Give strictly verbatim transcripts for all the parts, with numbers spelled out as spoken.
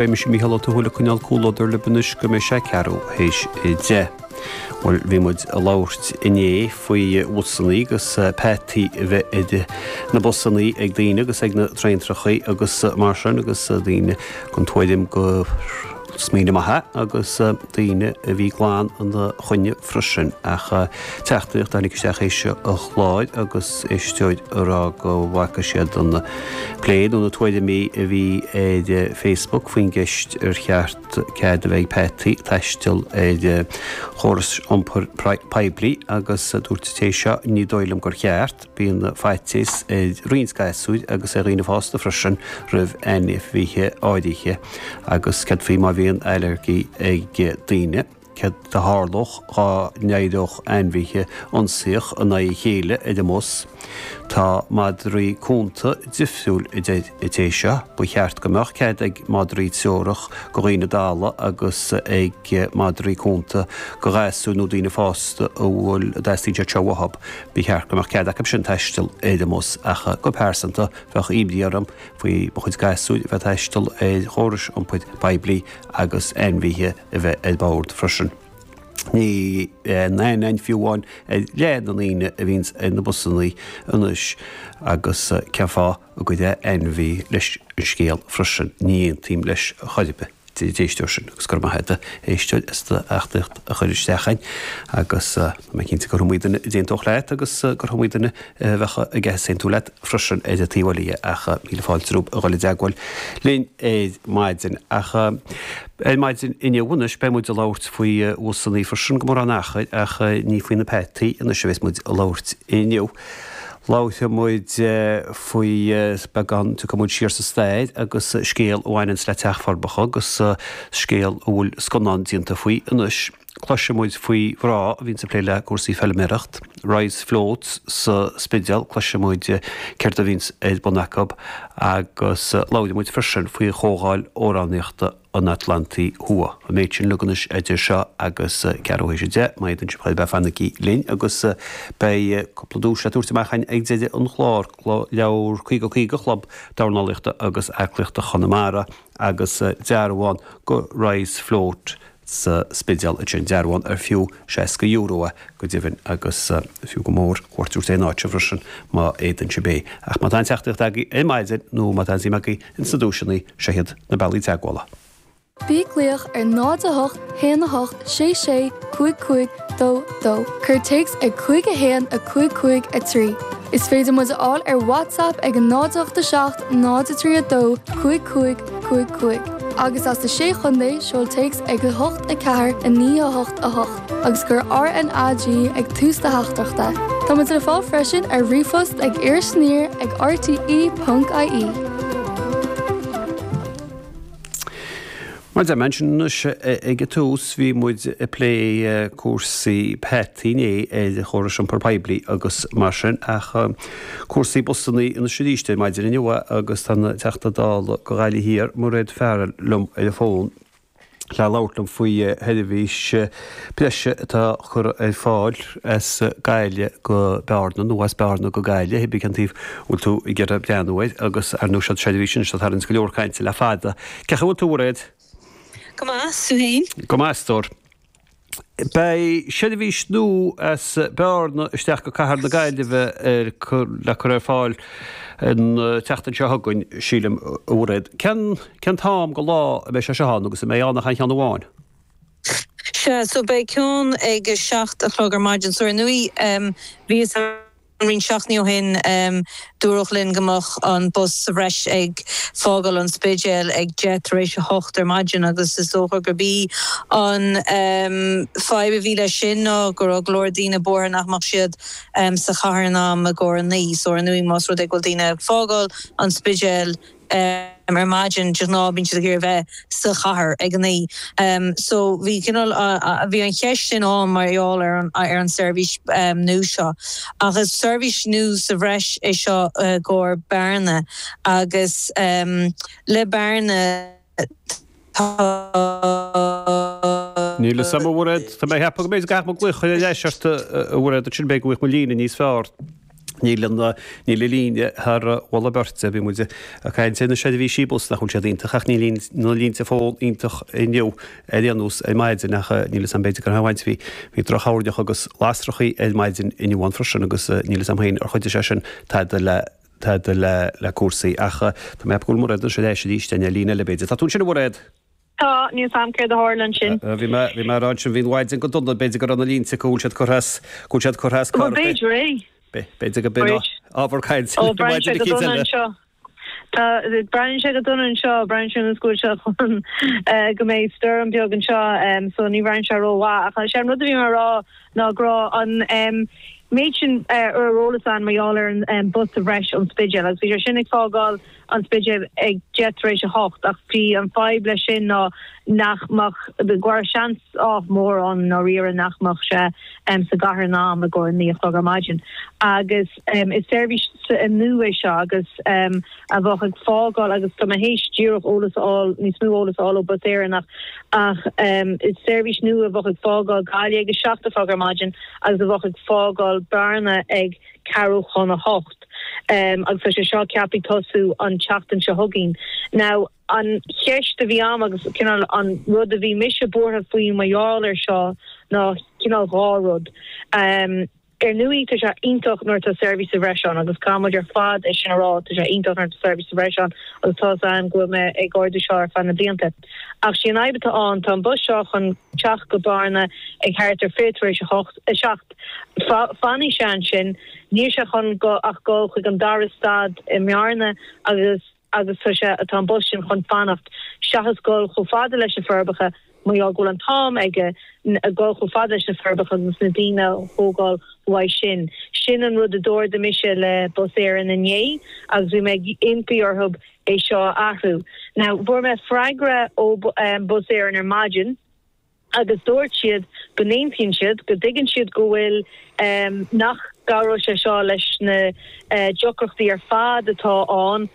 Beidh mise Mícheál Ó Tuathail ag coinneáil comhluadar libh anois go mbeidh sé ceathrú théis a deich. Bhuel, bhí muid ag labhairt inné faoi bhusannaí agus peataí a bheith ar na busannaí ag daoine agus ag na traentrachaí agus mar sin agus daoine den tuairim gur smaoineamh maith é agus daoine a bhí glan ina choinne freisin. Ach teachtaireacht a tháinig isteach théis an chláir agus éisteoir ag rá go bhfaca siad an plé nó na tuairimí a bhí ar Facebook faoin gceist ar cheart cead a bheith ag peataí taisteal ar chóras iompair poiblí agus dúirt an té seo ní dóigh liom gur cheart, bíonn faitíos ar roinnt gasúir agus ar dhaoine fásta freisin roimh ainmhithe áirithe agus céard faoi má bhíonn ailléirgí ag daoine. Céard a tharlódh dhá n-éireodh ainmhithe ionsaíoch in aghaidh a chéile ar an mbus? Tá madraí cúnta difriúil, a deir an té seo. Ba cheart go mbeadh cead ag madraí treorach go dhaoine dalla agus ag madraí cúnta go ghasúir nó daoine fásta a bhfuil a dteastaíonn siad seo uathu. Ba cheart go mbeadh cead acu sin taisteal ar an mbus ach go pearsanta bheadh imní orm faoi mo chuid gasúir a bheith ag taisteal ar chórais iompair poiblí agus ainmhithe a bheith ar bord freisin. Ní aithne againn fiú amháin ar leath na ndaoine a bhíonns ar na busannaí anois agus cén fáth a gcuirfeá ainmhí leis an scéal freisin? Ní aontaím leis chor ar bith. d'éisteoir sin agus go raibh maith agat a éisteoir as do theachtaireacht a chur isteach chugainn agus tá mé cinnte gur iomaí duine a d'aontódh leat agus gur iomaí duine a bheadh ag easaontú leat freisin ar an taobh eile dhe ach míle fáilte romhaibh a dhul i dteagmháil linn ar maidin. Ach ar maidin inniu anois beidh muid ag labhairt faoi bhusannaí freisin go mórán achair ach ní faoi na peataí anois a bheas muid ag labhairt inniu. Labharfaidh muid faoi beagán, tiocfaidh muid siar sa stair agus scéal a bhaineanns le Teach Forbacha agus scéal a bhfuil scannán déanta faoi anois. Cloisfidh muid faoi mhná a bhíonns ag plé le cúrsaí feilméireacht, Rise Floats sa Spidéal, cloisfidh muid céard a bhíonns ar bun acu agus labharfaidh muid freisin faoi Chomhdháil Amhránaíochta an Atlantaigh Thuaidh. An méid sin uilig anois idir seo agus ceathrú théis a deich, má fhéadann sibh a bheith fanaigí linn agus beidh cúpla duais le tabhairt amach againn ag deireadh an chláir, leabhar caoga caoga Chlub Dornálaíochta agus Aclaíochta Chonamara agus dearbhán go Rise Float sa Spidéal ansin, dearbhán ar fiú seasca euro é go deimhin agus fiú go mór cuairt a thabhairt ar an áit seo freisin má fhéadann sibh é. Ach má tá aon teachtaireacht agaibh ar maidin nó má tá aon suim agaibh ins na duaiseanna, seo iad na bealaí teagmhála. Bí ag glaoch ar náid a hocht haon a hocht sé sé cúig cúig dó dó. Cuir téacs ag cúig a haon a cúig cúig a trí. Is féidir muid a fháil ar WhatsApp ag a náid a hocht a seacht náid a trí a dó cúig cúig cúig cúig. Agus as na Sé Chontae, seol téacs ag a hocht a ceathair a naoi a hocht a hocht agus cuir R N A G ag tús do theachtaireachta. Tá muid le fáil freisin ar ríomhphost ag irisaniar ag R T E ponc I E. Mar a deir mé ansin anois ag an tús, bhí muid ag plé cúrsaí peataí inné ar chórais iompair poiblí agus mar sin, ach cúrsaí busannaí anois arís ar maidin inniu agus tá an Teachta Dála go Gaillimh Thiar, Mairéad Farrell, liom ar an bhfón le labhairt liom faoi sheirbhís breise atá curtha ar fáil as Gaillimh go Bearna nó as Bearna go Gaillimh, cibé cén taobh a bhfuil tú ag iarraidh breathnú air, agus ar ndóigh siod seirbhís anois atá ag tarraingt go leor cainte le fada. Cén chaoi a bhfuil tú, a Mhairéad? Go maith, 's tú féin? Go maith, a stór. Beidh seirbhís nua as Bearna isteach go cathair na Gaillimhe ar le cur ar fáil an tseachtain seo chugainn, sílim, a Mhairéad. Cén cén t-am go lá a mbeidh sé seo ann agus an mbeidh ann ach aon cheann amháin? Sea, so beidh ceann ag a seacht a chlog ar maidin. So ar ndóigh, bhí fhios roinnt seachtainí ó shin, dúradh linn go mbeadh an bus sa bhreis ag fágáil an Spidéil ag deich tar éis a hocht ar maidin agus is dócha gurb í an fadhb a bhí leis sin ná go raibh go leor daoine buartha nach mbeadh siad sa chathair in am i gcomhair a naoi. So ar ndóigh más rud é go bhfuil daoine ag fágáil an Spidéil, ar maidin, de ghnáth bíonn siad ag iarraidh bheith sa chathair ag a naoi. So bhí cineál, bhí an cheist sin ann mar gheall ar an ar an seirbhís nua seo. Ach is seirbhís nua sa bhreis é seo i gcomhair Bearna agus le Bearna tá. Níl fhios a'm, a Mhairéad, tá mé ag ceapadh go mb'fhéidir go gcaithfidh mé glaoch ar ais ort, a Mhairéad, ansin b'fhéidir go bhfuil mo líne níos fearr. Níl an níl an líne thar mholadh beirte, bhí muid ag caint ar na seirbhísí bus nach bhfuil siad iontach ach níl na línte fóin iontach inniu ar aon nós ar maidin ach níl 'fhios a'm b'fhéidir gur bhaint bhí bhí drochthoirneach agus lasrachaí ar maidin inniu ann freisin agus níl 'fhios a'm féin ar chuidigh sé sin tada le tada le le cúrsaí ach tá mé ag ceapadh go bhfuil Mairéad anseo ar ais arís ar líne eile b'fhéidir. Tá tú ansin a Mhairéad? Tá, níl 'fhios a'm céard a tharla ansin. Bhí mé bhí mé ag rá ansin bhí an mhaidin go dona b'fhéidir go raibh na línte go bhfuil siad curtha as go bhfuil siad curtha as Bhuel b'fhéidir é. B'fhéidir go b'in ábhar cainte Ó breathnaíonn sé go dona anseo. Tá breathnaíonn sé go dona anseo, breathnaíonn sé go bhfuil sé chun go mbeidh stoirm beag anseo so ní bhreathnaíonn sé rómhaith ach sé an rud a bhí mé a rá ná go raibh an méid sin ar eolas ann mar gheall ar an bus sa bhreis ón Spidéal agus bhí sé sin ag fágáil an Spidéal ag deich tar éis a hocht ach bhí an fadhb leis sin ná nach mbeadh go raibh seans ách mór ann ndáiríre nach mbeadh sé sa gcathair in am i gcomhair naoi a chlog ar maidin agus is seirbhís nua é seo agus a bheadh ag fágáil agus tá mé théis díreach eolas a fháil níos mó eolas a fháil ó Bus Éireann ach ach is seirbhís nua a bheadh ag fágáil Gaillimh ag a seacht a chlog ar maidin agus a bheadh ag fágáil Bearna ag ceathrú chun a hocht agus tá sé seo ceaptha tosú an tseachtain seo chugainn. Now an cheist a bhí a'm agus cineál an rud a bhí mise buartha faoi mar gheall ar seo ná cineál dhá rud. Um, ar ndóigh tá sé iontach nuair atá seirbhís sa bhreis ann agus caithfidh muid ar fad é sin a rá tá sé iontach nuair atá seirbhís sa bhreis ann agus tá 'fhios a'm go bhfuil mé ag ardú seo ar feadh na blianta. Ach sí an fhadhb atá ann tá an bus seo chun teacht go Bearna ag thart ar fiche tar éis a hocht a seacht. Fanfaidh sé ansin, níl sé chun go ach dul chuig an dara stad i mBearna agus agus tá sé tá an bus sin chun fanacht seachas dul chomh fada leis na Forbacha mar gheall go bhfuil an t-am aige dul chomh fada leis na Forbacha agus na daoine a thógáil uaidh sin. Sin an rud a d'ardaigh mise le Bus Éireann inné agus bhí mé ag impí orthu é seo a athrú. Now fuair mé freagra ó Bus Éireann ar maidin agus dúirt siad go n-aontaíonn siad, go dtuigeann siad go bhfuil nach gcabhróidh sé seo leis na deacrachtaí ar fad atá ann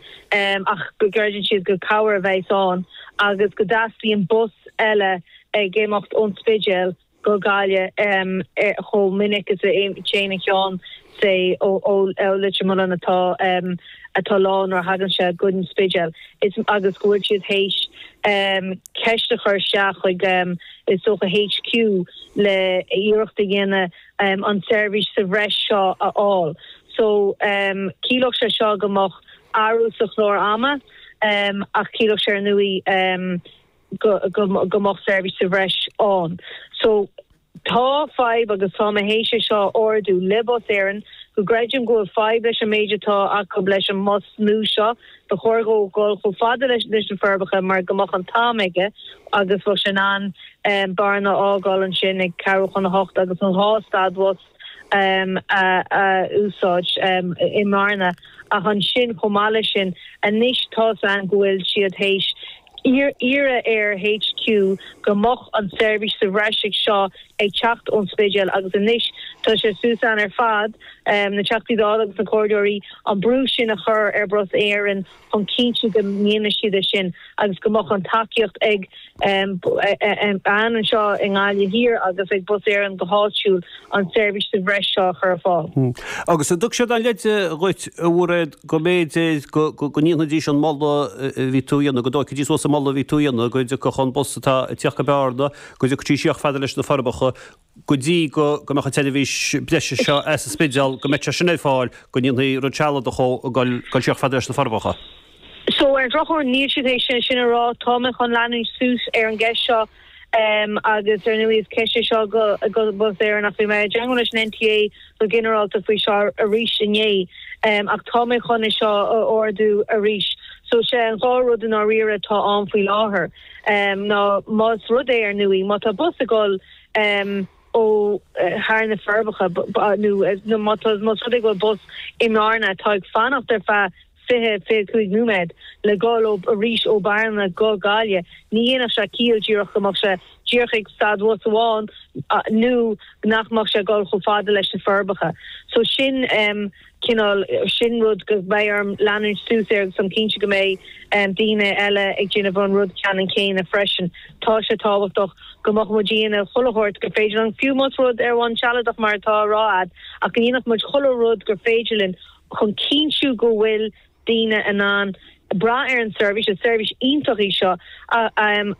ach go gcreideann siad gur cabhair a bheas ann agus go dteastaíonn bus eile ag imeacht ón Spidéal go Gaillimh chomh minic is a théann an ceann say ó Leitir Mealláin atá atá lán nuair a thagann sé go an Spidéal is agus go bhfuil siad théis ceist a chur isteach chuig is dócha HQ le iarracht a dhéanamh an tseirbhís sa bhreis seo a fháil. So ciallódh sé seo go mbeadh athrú sa chlár ama ach ciallódh sé ar ndóigh go go mbeadh seirbhís sa bhreis ann. So tá fadhb agus tá mé théis é seo a ardú le Bus Éireann go gcreidim go bhfuil fadhb leis an méid atá acu leis an mbus nua seo. Ba chóir dhó dul chomh fada leis na Forbacha mar go mbeadh an t-am aige agus bheadh sé in ann Bearna a fhágáil ansin ag ceathrú chun a hocht agus an dhá stad bhus a úsáid i mBearna. Ach ansin chomh maith leis sin anois tá's a'm go bhfuil siad théis iarraidh ar HQ go mbeadh an tseirbhís sa bhreis ag seo ag teacht ón Spidéal agus anois tá sé suas ann ar fad, na Teachtaí Dála agus na Comhairleoirí, an brú sin a chur ar Bhus Éireann chun cinntiú go ndéanfaidh siad é sin agus go mbeadh an tacaíocht ag ann anseo i nGaillimh Thiar agus ag Bus Éireann go háitiúil an tseirbhís sa bhreis seo a chur ar fáil. Agus an dtug siad aon leid dhuit, a Mhairéad, go mb'fhéidir go ndéanfaidís an moladh a bhí tú a dhéanamh, go dtógfaidís suas an moladh a bhí tú a dhéanamh, go dtiocfadh an bus atá ag tíocht go Bearna, go dtiocfadh sí siar chomh fada leis na Forbacha, go dtí go mbeadh an tseirbhís breise seo as an Spidéal, go mbeadh sé sin ar fáil, go ndéanfaí rud sealadach dhó ag dul siar chomh fada leis na Forbacha. So, ar an drochuair, níl siad théis sin a rá. Tá mé chun leanúint suas ar an gceist seo agus, ar ndóigh, is ceist é seo go go Bus Éireann ach bhí mé i dteagmháil leis an NTA go ginearálta faoi seo arís inné ach tá mé chun é seo a ardú arís. So, sé an dhá rud i ndáiríre atá ann faoi láthair ná más rud é, ar ndóigh, má tá bus ag dul ó thar na Forbacha nó má tá más rud é go bhfuil bus i mBearna atá ag fanacht ar feadh fiche, fiche cúig nóiméad le dhul ó arís ó Bearna go Gaillimh, ní dhéanfadh sé ciall díreach go mbeadh sé díreach ag stad bhus amháin nó nach mbeadh sé gul chomh fada leis na Forbacha. So sin um, cineál sin rud go mbeidh orm leanúint suas ar agus cinnte go mbeidh um, daoine eile ag déanamh an rud ceannann céanna freisin. Tá sé tábhachtach go mbeadh muid ag déanamh chuile shórt gur féidir linn fiú más rud ar bhonn sealadach mar atá á rá ach go ndéanfadh muid chuile rud gur féidir linn chun cinntiú go bhfuil daoine in ann brath ar an seirbhís, is seirbhís iontach í seo um,